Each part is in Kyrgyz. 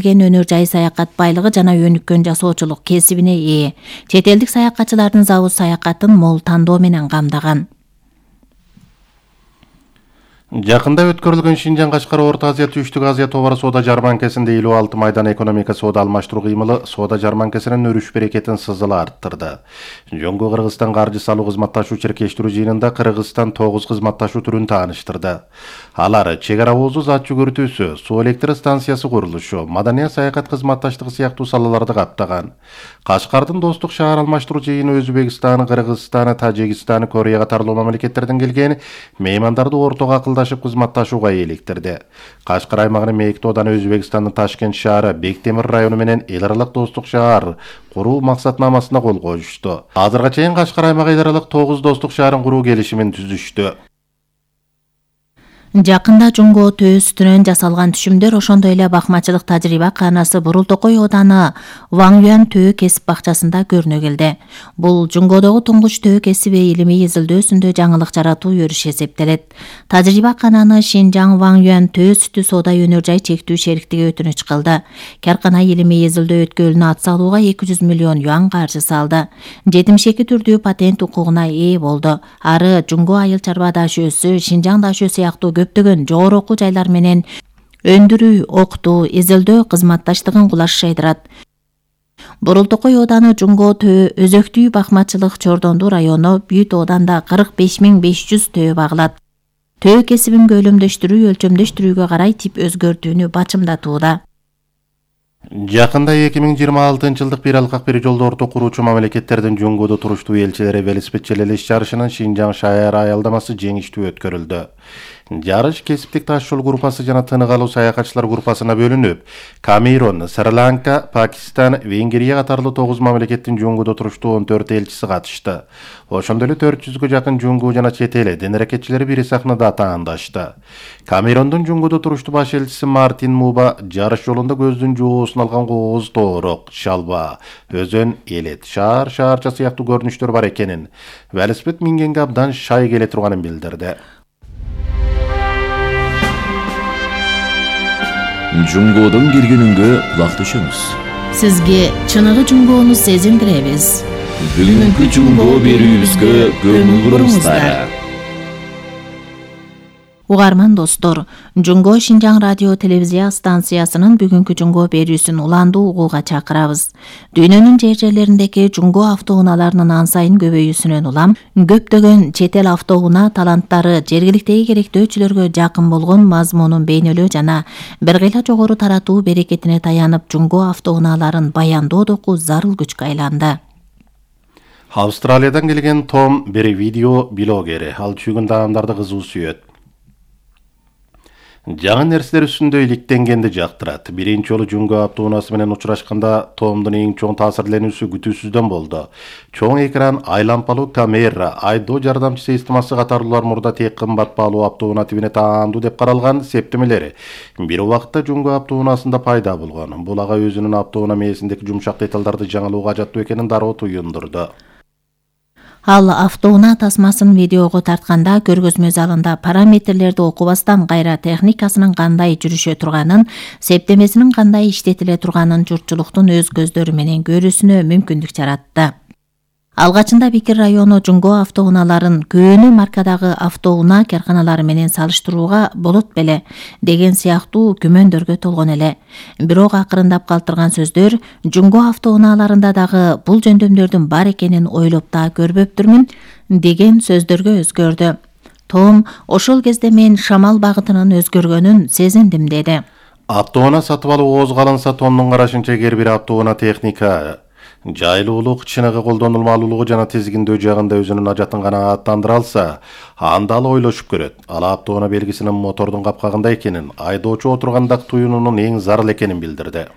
келген өнөр жай саякат байлыгы жана өнүккөн жасоочулук кесибине ээ. Чет элдик саякатчылардын завуз саякатын мол тандоо менен камдаган. Жакында өткөрүлгөн Шинжаң Кашкар Орто Азия Түштүк Азия товар соода жарманкесинде 56 майдан экономика соода алмаштыруу кыймылы соода жарманкесинин өрүш берекетин сызыла арттырды. Жөнгө Кыргызстан каржы салуу кызматташуу чиркештирүү жыйынында Кыргызстан 9 кызматташуу түрүн тааныштырды. Алар чек ара оозу зат жүгүртүүсү, суу электр станциясы курулушу, маданият саякат кызматташтыгы сыяктуу салаларды каптаган. Кашкардын достук шаар алмаштыруу жыйыны Өзбекстан, Кыргызстан, Тажикстан, Корея катарлуу мамлекеттерден келген меймандарды ортого акылдашып кызматташууга электирди. Кашкар аймагынын Мейкти ооданы Өзбекстандын Ташкент шаары, Бектемир району менен эл аралык достук шаар куруу максатнамасына кол коюшту. Азырга чейин Кашкар аймагы эл аралык 9 достук шаарын куруу келишимин түзүштү. Жакында Жунго төө сүтүнөн жасалган түшүмдөр, ошондой эле бакмачылык тажрыйба каанасы Бурултокой ооданы Ваңюан төө кесип бакчасында көрүнө келди. Бул Жунгодогу туңгуч төө кесиби илимий изилдөөсүндө жаңылык жаратуу өрүш эсептелет. Тажрыйба каананы Шинжаң Ваңюан төө сүтү соода өнөр жай чектүү шериктиги өтүнүч кылды. Каркана илимий изилдөө өткөлүнө ат салууга 200 миллион юан каржы салды. 72 түрдүү патент укугуна ээ болду. Ары Жунго айыл чарба дашөөсү, Шинжаң дашөө сыяктуу көптөгөн жогору окуу жайлар менен өндүрүү, окутуу, изилдөө кызматташтыгын кулаш жайдырат. Бурултокой ооданы Жунго төө өзөктүү бакмачылык Чордондуу району Бүт ооданда 45.500 төө багылат. Төө кесибин көлөмдөштүрүү, өлчөмдөштүрүүгө карай тип өзгөртүүнү бачымдатууда. Жакында 2026 жылдык бир алкак бир жолдорду куруучу мамлекеттердин Жунгодо туруштуу элчилери велосипед челелеш жарышынын Шинжаң шаар аялдамасы жеңиштүү өткөрүлдү. Жарыш кесиптик таш жол группасы жана тынык алуу саякатчылар группасына бөлүнүп, Камерун, Шри-Ланка, Пакистан, Венгрия катарлуу 9 мамлекеттин Жунгодо туруштуу 14 элчиси катышты. Ошондой эле 400гө жакын Жунгу жана чет эл дин аракетчилери бир сахнада таандашты. Камерундун Жунгодо туруштуу баш элчиси Мартин Муба жарыш жолунда көздүн жоосун алган кооз тоорок, шалба, өзөн, элет, шаарча сыяктуу көрүнүштөр бар экенин, велосипед мингенге абдан шай келе турганын билдирди. Жунгодон киргенүнгө кулак түшөмүз. Сизге чыныгы Жунгону сезиндиребиз. Бүгүнкү Жунго берүүбүзгө көңүл буруңуздар. Угарман достор, Жунго Шинжаң радио телевизия станциясынын бүгүнкү Жунго берүүсүн уландуу угууга чакырабыз. Дүйнөнүн жер жерлериндеги Жунго автоунааларынын ан сайын көбөйүүсүнөн улам, көптөгөн чет эл автоунаа таланттары жергиликтеги керектөөчүлөргө жакын болгон мазмунун бейнелөө жана бир кыйла жогору таратуу берекетине таянып Жунго автоунааларын баяндоо доку зарыл күчкө айланды. Австралиядан келген Том бир видео блогери, ал чүгүн адамдарды кызуу сүйөт. Жаңы нерселер үстүндө иликтенгенди жактырат. Биринчи жолу Жунго автоунаасы менен учурашканда Томдун эң чоң таасирленүүсү күтүүсүздөн болду. Чоң экран, айлампалуу камера, айдоо жардамчы системасы катарлуулар мурда тек кымбат баалуу автоунаа тибине таандуу деп каралган септемелери бир убакытта Жунго автоунаасында пайда болгон. Бул ага өзүнүн автоунаа мээсиндеги жумшак деталдарды жаңылууга ажаттуу экенин дароо туюндурду. Ал автоунаа тасмасын видеого тартканда көргөзмө залында параметрлерди окубастан кайра техникасынын кандай жүрүшө турганын, септемесинин кандай иштетиле турганын журтчулуктун өз көздөрү менен көрүүсүнө мүмкүндүк жаратты. Алгачында Бикир району Жунго автоунааларын көөнү маркадагы автоунаа карканалары менен салыштырууга болот беле деген сыяктуу күмөндөргө толгон эле. Бирок акырындап калтырган сөздөр Жунго автоунааларында дагы бул жөндөмдөрдүн бар экенин ойлоп да көрбөптүрмүн деген сөздөргө өзгөрдү. Том ошол кезде мен шамал багытынын өзгөргөнүн сезиндим деди. Автоунаа сатып алуу оозго алынса, Томдун карашынча эгер бир автоунаа техника жайлуулук, чыныгы колдонулмалуулугу жана тизгиндөө жагында өзүнүн ажатын канааттандыра алса, анда ал ойлошуп көрөт. Ал автоунаа белгисинин мотордун капкагында экенин, айдоочу отурганда туюунунун эң зарыл экенин билдирди.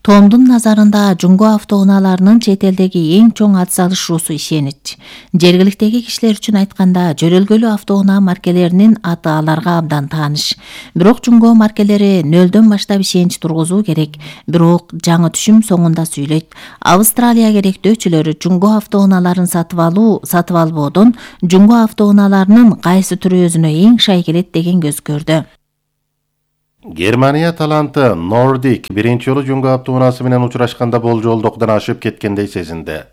Томдун назарында Жунго автоунааларынын чет элдеги эң чоң атсалышуусу ишенич. Жергиликтеги кишилер үчүн айтканда, жөрөлгөлүү автоунаа маркелеринин аты аларга абдан тааныш. Бирок Жунго маркелери нөлдөн баштап ишенич тургузуу керек. Бирок жаңы түшүм соңунда сүйлөйт. Австралия керектөөчүлөрү Жунго автоунааларын сатып албоодон Жунго автоунааларынын кайсы түрү өзүнө эң шай келет деген көз көрдү. Германия таланты Nordic биринчи жолу жөнгө автоунаасы менен учурашканда болжолдукдан ашып кеткендей сезинди.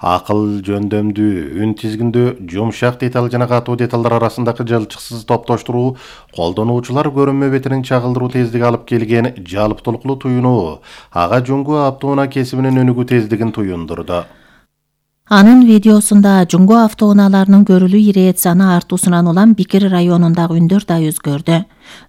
Акыл жөндөмдүү, үн тизгиндүү, жумшак деталь жана катуу деталдар арасындагы жылчыксыз топтоштуруу колдонуучулар көрүнмө бетинин чагылдыруу тездиги алып келген жалптулуклуу туюну ага жөнгө автоунаа кесибинин өнүгүү тездигин туюндурду. Анын видеосунда жөнгө автоунааларынын көрүлүү ирет саны артуусунан улам Бикир районундагы үндөр да өзгөрдү.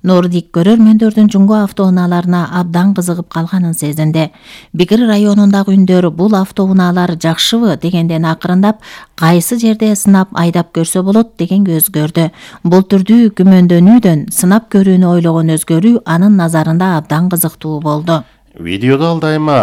Нордик көрөрмөндөрдүн жөнгө автоунааларына абдан кызыгып калганын сезинди. Бикир районундагы үндөр бул автоунаалар жакшыбы дегенден акырындап, кайсы жерде сынап айдап көрсө болот дегенге өзгөрдү. Бул түрдүү күмөндөнүүдөн сынап көрүүнү ойлогон өзгөрүү анын назарында абдан кызыктуу болду. Видеодо ал дайыма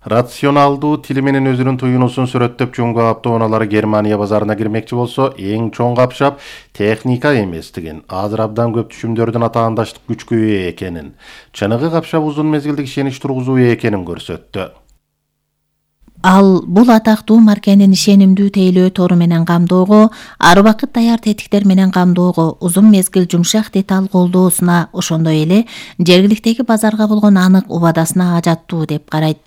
рационалдуу тили менен өзүнүн туюнусун сүрөттөп жөнгө автоунаалары Германия базарына кирмекчи болсо, эң чоң капшап техника эместигин, азыр абдан көп түшүмдөрдүн атаандаштык күчкө ээ экенин, чыныгы капшап узун мезгилдик ишенич тургузуу экенин көрсөттү. Ал бул атактуу маркенин ишенимдүү тейлөө тору менен камдоого, ар убакыт даяр тетиктер менен камдоого, узун мезгил жумшак деталь колдоосуна, ошондой эле жергиликтеги базарга болгон анык убадасына ажаттуу деп карайт.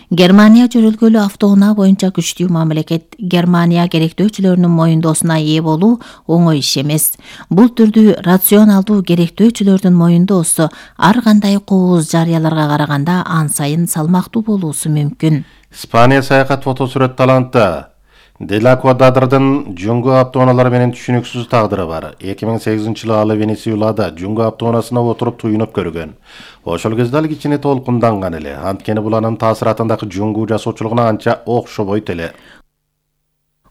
Германия жөрөлгөлүү автоунаа боюнча күчтүү мамлекет. Германия керектөөчүлөрүнүн моюндоосуна ээ болуу оңой иш эмес. Бул түрдүү рационалдуу керектөөчүлөрдүн моюндоосу ар кандай кооз жарыяларга караганда ан сайын салмактуу болуусу мүмкүн. Испания саякат фотосүрөт таланты Дела Квадрадырдын жөнгө автоунаалары менен түшүнүксүз тагдыры бар. 2008-жылы ал Венесуэлада жөнгө автоунаасына отуруп туюнуп көргөн. Ошол кезде ал кичине толкунданган эле. Анткени бул анын таасиратындагы жөнгө жасоочулугуна анча окшобойт эле.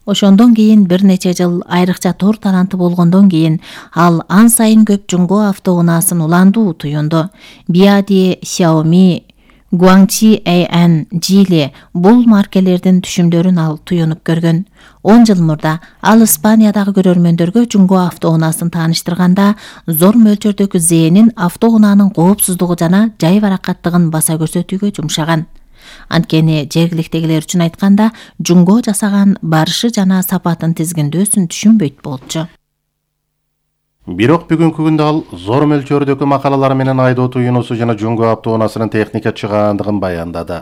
Ошондон кийин бир нече жыл айрыкча тор таланты болгондон кийин ал ан сайын көп жөнгө автоунаасын уландуу туюнду. Биади, Xiaomi, Guangqi AN, Geely бул маркелердин түшүмдөрүн ал туюнуп көргөн. 10 жыл мурда ал Испаниядагы көрөрмөндөргө жөнгө автоунаасын тааныштырганда зор мөлчөрдөгү зээнин автоунаанын коопсуздугу жана жай баракаттыгын баса көрсөтүүгө жумшаган. Анткени жергиликтегилер үчүн айтканда жөнгө жасаган барышы жана сапатын тизгиндөөсүн түшүнбөйт болчу. Бирок бүгүнкү күндө ал зор мөлчөрдөгү макалалары менен айдоо туюнусу жана жөнгө автоунаасынын техника чыгаандыгын баяндады.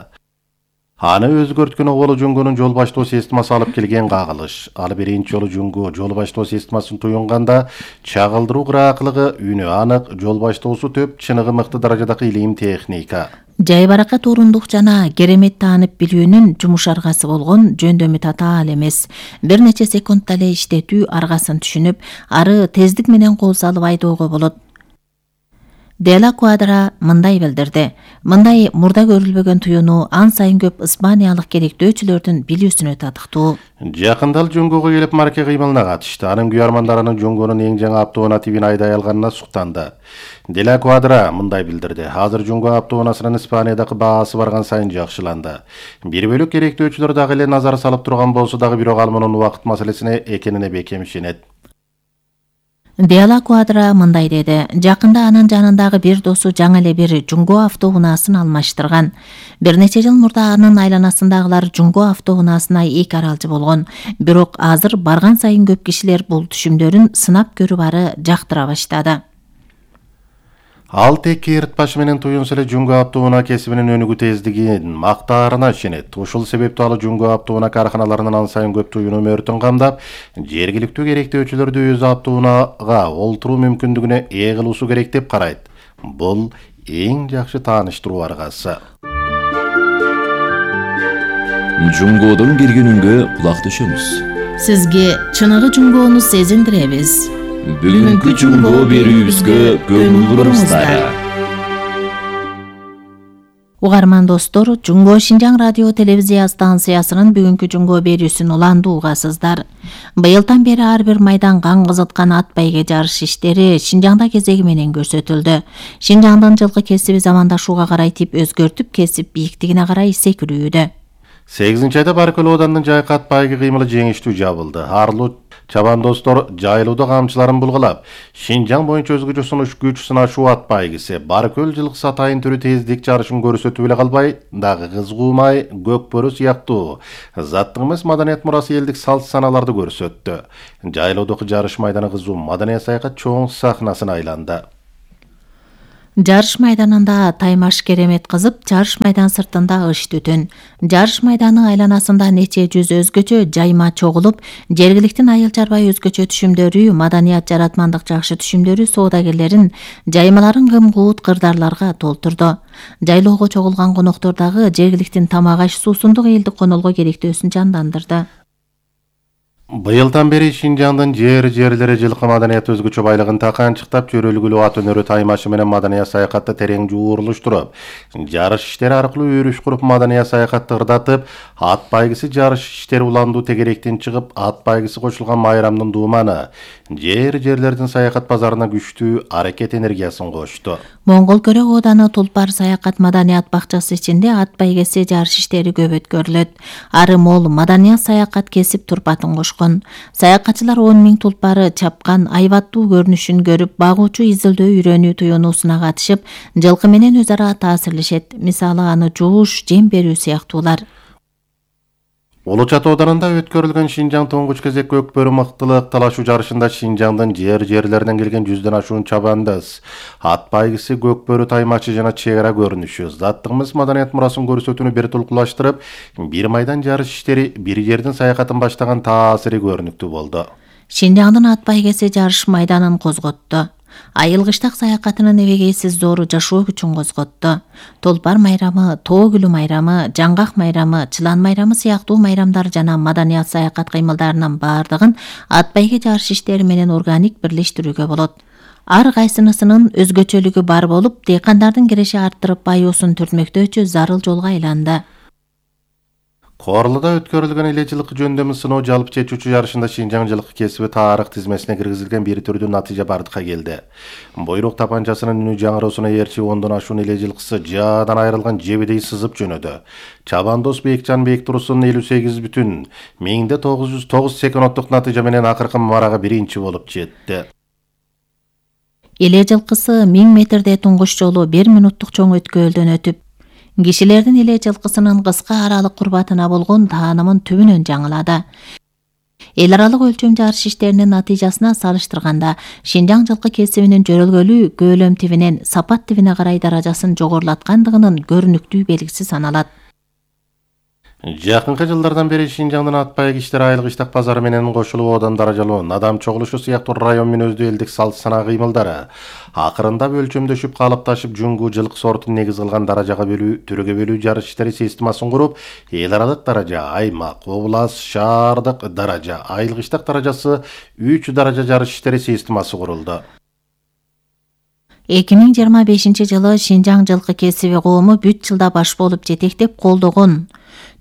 Аны өзгөрткөн оболу жөнгөнүн жол баштоо системасы алып келген кагылыш. Ал биринчи жолу жөнгө жол баштоо системасын туюнганда чагылдыруу кыраакылыгы, үнү анык, жол баштоосу төп, чыныгы мыкты даражадагы илим техника. Жай баракат орундук жана керемет таанып билүүнүн жумушаргасы болгон жөндөмү татаал эмес. Бир нече секундда эле иштетүү аргасын түшүнүп, ары тездик менен кол салып айдоого болот. Дела Квадра мындай билдирди. Мындай мурда көрүлбөгөн туюну ан сайын көп испаниялык керектөөчүлөрдүн билүүсүнө татыктуу. Жакында ал жөнгөгө келип марке кыймылына катышты. Анын күйөрмандарынын жөнгөнүн эң жаңы автоунаа тибин айдай алганына суктанды. Дела Квадра мындай билдирди. Азыр жөнгө автоунаасынын Испаниядагы баасы барган сайын жакшыланды. Бир бөлүк керектөөчүлөр дагы эле назар салып турган болсо дагы бирок ал мунун убакыт маселесине экенине бекем ишенет. Дела Квадра мындай деди. Жакында анын жанындагы бир досу жаңы эле бир жөнгө автоунаасын алмаштырган. Бир нече жыл мурда анын айланасындагылар жөнгө автоунаасына эки аралчы болгон. Бирок азыр барган сайын көп кишилер бул түшүмдөрүн сынап көрүп ары жактыра баштады. Ал тек ыртпашы менен туюнса эле жөнгө автоунаа кесибинин өнүгүү тездигин мактаарына ишенет. Ушул себептүү ал жөнгө автоунаа карканаларынын ан сайын көп туюну мөртүн камдап, жергиликтүү керектөөчүлөрдү өз автоунаага олтуруу мүмкүндүгүнө ээ кылуусу керек деп карайт. Бул эң жакшы тааныштыруу аргасы. Жөнгодон киргенүнгө кулак түшөмүз. Сизге чыныгы жөнгөнү сезиндиребиз. Бүгүнкү жөнгө берүүбүзгө көңүл буруңуздар. Угарман достор, Жөнгө Шинжаң радио телевизия станциясынын бүгүнкү жөнгө берүүсүн уландуу угасыздар. Быйылдан бери ар бир майдан кан кызыткан ат байге жарыш иштери Шинжаңда кезеги менен көрсөтүлдү. Шинжаңдын жылкы кесиби замандашууга карай тип өзгөртүп, кесип бийиктигине карай секирүүдө. 8-айда Баркөл оданынын жайкы ат байгы кыймылы жеңиштүү жабылды. Арлуу чабандостор жайлоодо камчыларын булгалап, Шинжаң боюнча өзгөчө күч сынашуу ат байгысы Баркөл жылкысы атайын түрү тездик жарышын көрсөтүп эле калбай, дагы кызгуумай, көкбөрү сыяктуу заттык эмес маданият мурасы элдик салт саналарды көрсөттү. Жайлоодогу жарыш майданы кызуу маданият саякат чоң сахнасына айланды. Жарыш майданында таймаш керемет кызып, жарыш майдан сыртында ыш түтүн. Жарыш майданы айланасында нече жүз өзгөчө жайма чогулуп, жергиликтин айыл чарбай өзгөчө түшүмдөрү, маданият жаратмандык жакшы түшүмдөрү соодагерлерин, жаймаларын кым-куут кырдаарларга толтурду. Жайлоого чогулган коноктор дагы жергиликтин тамак аш суусундук элдик конолго керектөөсүн жандандырды. Быйылдан бери Шинжаңдын жерлери жылкы маданият өзгөчө байлыгын таканчыктап, чөйрөлгүлүү ат өнөрү таймашы менен маданият саякатты терең жууруштуруп, жарыш иштери аркылуу өрүш куруп маданият саякатты ырдатып, ат байгысы жарыш иштери уландуу тегеректен чыгып, ат байгысы кошулган майрамдын дууманы жерлердин саякат базарына күчтүү аракет энергиясын кошту. Моңгол көрөк ооданы Тулпар саякат маданият бакчасы ичинде ат байгеси жарыш иштери көп өткөрүлөт. Ары мол маданият саякат кесип турпатын кошкон. Саякатчылар 10 000 тулпары чапкан айбаттуу көрүнүшүн көрүп, багуучу изилдөө үйрөнүү туюнуусуна катышып, жылкы менен өз ара таасирлешет. Мисалы аны жууш, жем берүү сыяктуулар. Улуу Чат ооданында өткөрүлгөн Шинжаң туңгуч кезек көкбөрү мыктылык талашуу жарышында Шинжаңдын жерлеринен келген 100дөн ашуун чабандыз, ат байгысы, көкбөрү таймачы жана чек ара көрүнүшү заттыгыбыз маданият мурасын көрсөтүүнү бир тулкулаштырып, бир майдан жарыш иштери, бир жердин саякатын баштаган таасири көрүнүктүү болду. Шинжаңдын ат байгеси жарыш майданын козготту. Айыл кыштак саякатынын эбегейсиз зору жашоо күчүн козготту. Толпар майрамы, Тоо күлү майрамы, Жаңгак майрамы, Чылан майрамы сыяктуу майрамдар жана маданият саякат кыймылдарынын баардыгын ат байге жарыш иштери менен органик бирлештирүүгө болот. Ар кайсынысынын өзгөчөлүгү бар болуп, дыйкандардын киреши арттырып байоосун түртмөктөөчү зарыл жолго айланды. Корлуда өткөрүлгөн эле жылкы жөндөмү сыноо жалпы чечүүчү жарышында Шинжаң жылкы кесиби тарых тизмесине киргизилген бир түрдүү натыйжа бардыкка келди. Бойрук тапанчасынын үнү жаңыроосуна эрчи 10дон ашуун эле жылкысы жаадан айрылган жебедей сызып жөнөдү. Чабандос Бекжан Бектурусун 58,1909 секунддук натыйжа менен акыркы марага биринчи болуп жетти. Эле жылкысы 1000 метрде туңгуч жолу 1 минуттук чоң өткөөлдөн өтүп, кишилердин эле жылкысынын кыска аралык курбатына болгон таанымын түбүнөн жаңылады. Эл аралык өлчөм жарыш иштеринин натыйжасына салыштырганда, Шинжаң жылкы кесибинин жөрөлгөлүү көөлөм тибинен сапат тибине карай даражасын жогорулаткандыгынын көрүнүктүү белгиси саналат. Жакынкы жылдардан бери Шинжаңдын ат байг иштери айыл кыштак базары менен кошулуп, одан даражалуу адам чогулушу сыяктуу район мүнөздүү элдик салт санаа кыймылдары акырындап өлчөмдөшүп, калыпташып, жүнгү жылкы сортун негиз кылган даражага бөлүү, түргө бөлүү жарыш иштери системасын куруп, эл аралык даража, аймак, област, шаардык даража, айыл кыштак даражасы 3 даража жарыш иштери системасы курулду. 2025 жылы Шинжаң жылкы кесиби коому бүт жылда баш болуп жетектеп колдогон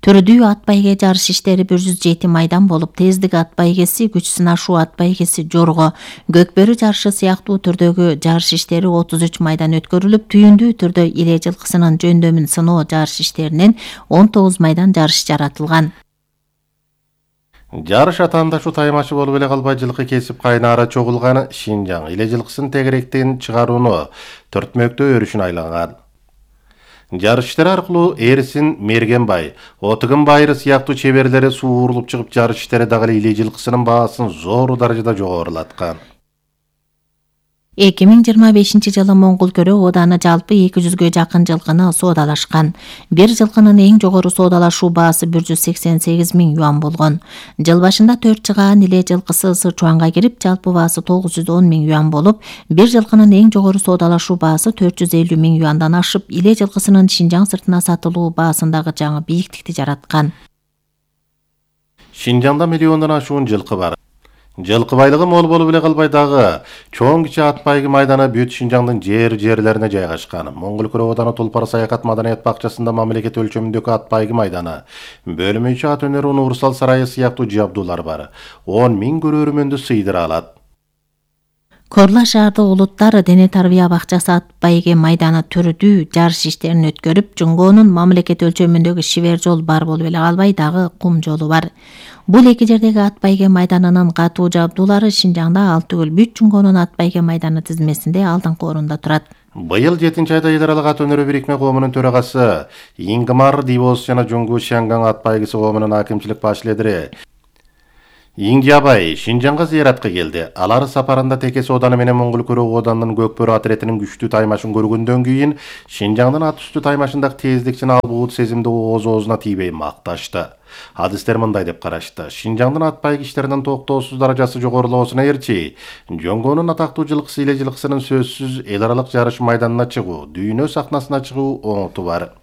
түрдүү ат байге жарыш иштери 107 майдан болуп, тездик ат байгеси, күч сынашуу ат байгеси, жорго, көкбөрү жарышы сыяктуу түрдөгү жарыш иштери 33 майдан өткөрүлүп, түйүндүү түрдө эле жылкысынын жөндөмүн сыноо жарыш иштеринен 19 майдан жарыш жаратылган. Жарыш атаандашуу таймашы болуп эле калбай, жылкы кесип кайнаары чогулган Шинжаң эле жылкысын тегеректен чыгарууну төртмөктөө өрүшүн айланган. Жарыш иштери аркылуу Эрсин Мергенбай, Отугун Байыры сыяктуу чеберлери сууруп чыгып, жарыш иштери дагы эле жылкысынын баасын зор даражада жогорулаткан. 2025 жылы Моңгол көрөк ооданы жалпы 200гө жакын жылкыны соодалашкан. Бир жылкынын эң жогору соодалашуу баасы 188 000 юан болгон. Жыл башында 4 чыгаан эле жылкысы Сычуанга кирип, жалпы баасы 910 000 юан болуп, бир жылкынын эң жогору соодалашуу баасы 450 000 юандан ашып, эле жылкысынын Шинжаң сыртына сатылуу баасындагы жаңы бийиктикти жараткан. Шинжаңда миллиондон ашуун жылкы бар. Жылкы байлыгы мол болуп эле калбай, дагы чоң кичи ат байгы майданы бүт Шинжаңдын жерлерине жайгашкан. Моңгол көрөк ооданы Тулпар саякат маданият бакчасында мамлекет өлчөмүндөгү ат байгы майданы, бөлмөчү ат өнөрү универсал сарайы сыяктуу жабдуулар бар. 10 000 көрөрмөндү сыйдыра алат. Корла шаарды улуттар дене тарбия бакчасы ат байге майданы түрдүү жарыш иштерин өткөрүп, Жунгоонун мамлекет өлчөмүндөгү шибер жол бар болуп эле калбай, дагы кум жолу бар. Бул эки жердеги ат байге майданынын катуу жабдуулары Шинжаңда ал түгүл, бүт Жунгоонун ат байге майданы тизмесинде алдыңкы орунда турат. Быйыл 7-айда эл аралык ат өнөрү бирикме коомунун төрагасы Ингмар Дивос жана Жунгу Шанган ат байгысы коомунун акимчилик баш лидери Иңдиябай Шинжаңга зыяратка келди. Алар сапарында Текес ооданы менен Моңгол Көрөк оодандын Көкбөрү отрядынын күчтүү таймашын көргөндөн кийин Шинжаңдын ат үстү таймашындагы тездикчини албуут сезимди оозуна тийбей макташты. Адистер мындай деп карашты. Шинжаңдын ат байгичтеринин токтоосуз даражасы жогорулоосуна ээрчи, Жоңгонун атактуу жылкысы эле жылкысынын сөзсүз эл аралык жарыш майданына чыгуу, дүйнө сахнасына чыгуу оңоту бар.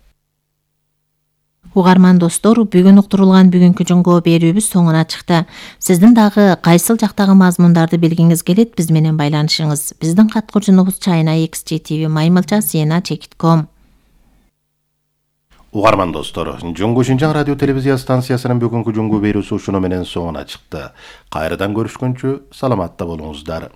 Угарман достор, бүгүн уктурулган бүгүнкү жоңго берүүбүз соңуна чыкты. Сиздин дагы кайсыл жактагы мазмундарды билгиңиз келет, биз менен байланышыңыз. Биздин каткырчунубуз china@xgtv@maymilcha.com. Угарман достор, Жоңго Шинжаң радио телевизия станциясынын бүгүнкү жоңго берүүсү ушуну менен соңуна чыкты. Кайрадан көрүшкөнчө саламатта болуңуздар.